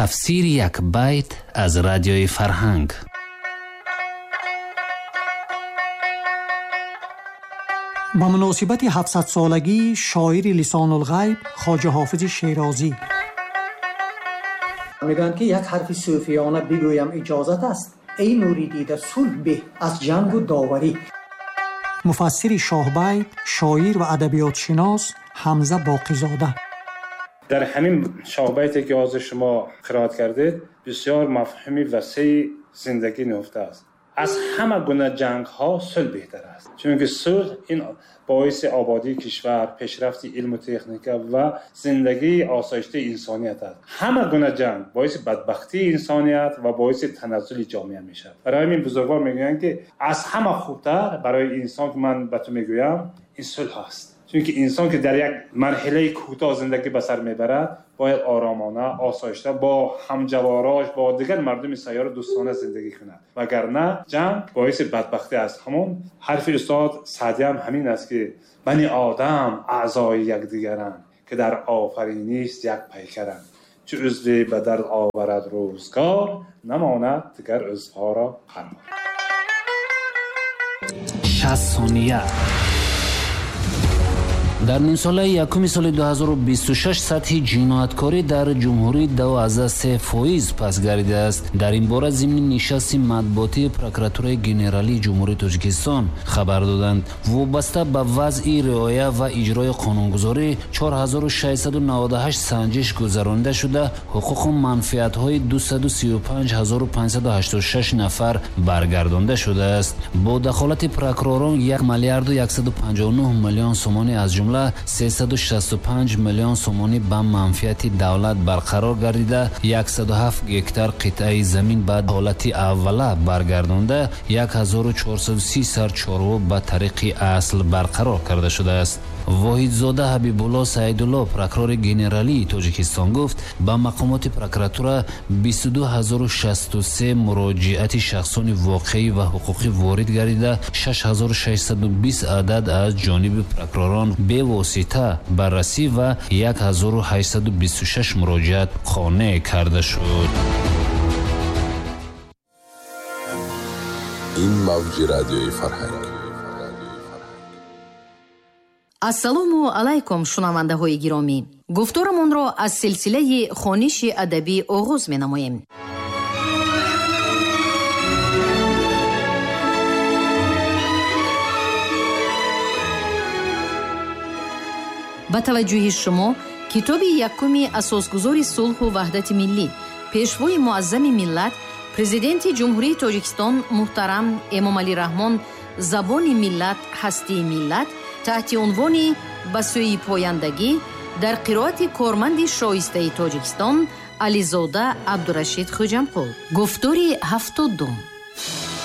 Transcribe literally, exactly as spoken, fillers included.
Тафсири як байт аз радиои Фарҳанг. Ба муносибати ҳафтсадсолагии шоири Лисонулғайб Хоҷа Ҳофизи Шерозӣ. Мегӯянд, ки як ҳарфи сӯфиёна бигӯям иҷозат аст. Эй нури дида, сулҳ беҳ аз ҷангу доварӣ. Муфассири шоҳбайт, шоир ва адабиётшинос Ҳамза Боқизода. Дар ҳамин шоҳбайте ки ҳозир шумо қироат кардед, бисёр мафҳуми васеи зиндагӣ нуҳуфта аст. Аз ҳама гуна ҷангҳо сулҳ беҳтар аст, чунки сулҳ ин боиси ободии кишвар, пешрафти илму техника ва зиндагии осоиштаи инсоният аст. Ҳама гуна ҷанг боиси бадбахтии инсоният ва боиси таназзули ҷомеа мешавад. Барои ҳамин бузургвор мегӯянд, ки аз ҳама хубтар барои инсон, ки ман ба ту мегӯям, ин сулҳ аст. Чунки инсон ки дар як марҳилаи кӯтоҳ зиндагӣ ба сар мебарад, бояд оромона, осоишта бо ҳамҷаворош, бо дигар мардуми сайёра дӯстона зиндагӣ кунад. Вагарна ҷанг боиси бадбахтӣ аст. Ҳамон ҳарфи устод Саъдӣ ҳам ҳамин аст, ки бани одам аъзои якдигаранд, ки дар офариниш як пайкаранд. Чу узве ба дард оварад рӯзгор, намонад дигар узвҳоро қарор. Шаст сония. Дар нимсолаи якуми соли ду ҳазору бисту шаш сатҳи ҷинояткорӣ дар ҷумҳурӣ ду се фоиз пас гардидааст. Дар ин бора зимни нишасти матбуотии прокуратураи генералии Ҷумҳурии Тоҷикистон хабар доданд. Вобаста ба вазъи риоя ва иҷрои қонунгузорӣ чор ҳазору шашсаду наваду ҳашт санҷиш гузаронида шуда, ҳуқуқу манфиатҳои дусаду сию панҷ ҳазору панҷсаду ҳаштоду шаш нафар баргардонда шудааст. Бо дахолати прокуророн як миллиарду яксаду панҷоҳу нӯҳ миллион сомонӣ, аз ҷумла сесаду шасту панҷ миллион сомонӣ ба манфиати давлат барқарор гардида, яксаду ҳафт гектар қитъаи замин ба ҳолати аввала баргардонда, як ҳазору чорсаду си сар чорво ба тариқи асл барқарор карда шудааст. Воҳидзода Ҳабибулло Саидулло, прокурори генералии Тоҷикистон, гуфт ба мақомоти прокуратура бисту ду ҳазору шасту се муроҷиати шахсони воқеӣ ва ҳуқуқӣ ворид гардида, шаш ҳазору шашсаду бист адад аз ҷониби прокуророн бевосита баррасӣ ва як ҳазору ҳаштсаду бисту шаш муроҷиат қонеъ карда шуд. Ин мавҷи радиои Фарҳанг. Ассалому алайкум, шунавандаҳои гиромӣ. Гуфторамонро аз силсилаи хониши адабӣ оғоз менамоем. Ба таваҷҷӯҳи шумо китоби якуми асосгузори сулҳу ваҳдати миллӣ, пешвои муаззами миллат, президенти Ҷумҳурии Тоҷикистон муҳтарам Эмомалӣ Раҳмон «Забони миллат, ҳастии миллат» таҳти унвони «Ба сӯи пояндагӣ» дар қироати корманди шоистаи Тоҷикистон Ализода Абдурашид Хӯҷамқул. Гуфтори ҳафтодум.